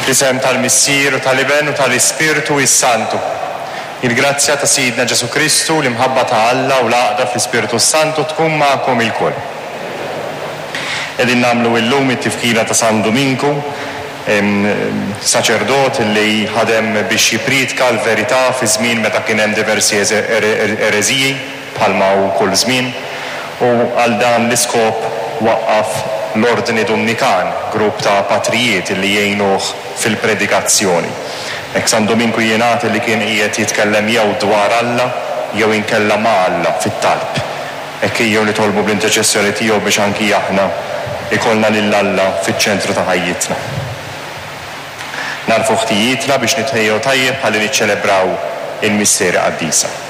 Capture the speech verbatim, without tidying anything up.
Fl-isem tal-Missier u tal-Iben u tal-Ispirtu s-Santu. Il-grazzja ta' Sidna Ġesù Kristu, l-imħabba ta' Alla u l-għaqda fl-Ispirtu s-Santu tkun magħkom ilkoll. Qegħdin nagħmlu illum it-tifkira ta' San Duminku, saċerdot li ħadem biex jippriedka l-verità fi żmien meta kien hemm diversi ereżiji bħalma hu kull żmien, u għal dan l-iskop waqqaf l-Ordni Dumnikan, grupp ta' patrijiet li jgħinuh fil-predikazzjoni. Hekk San Duminku jingħad li kien qiegħed jitkellem jew dwar Alla jew inkella ma' Alla fit-talb. Hekk ejjew nitolbu bl-interċessjoni tiegħu biex anki aħna ikollna lil Alla fiċ-ċentru ta' ħajjitna. Nagħrfu ħtijietna biex nitħejjew tajjeb ħalli niċċelebraw il-misteri qaddisa.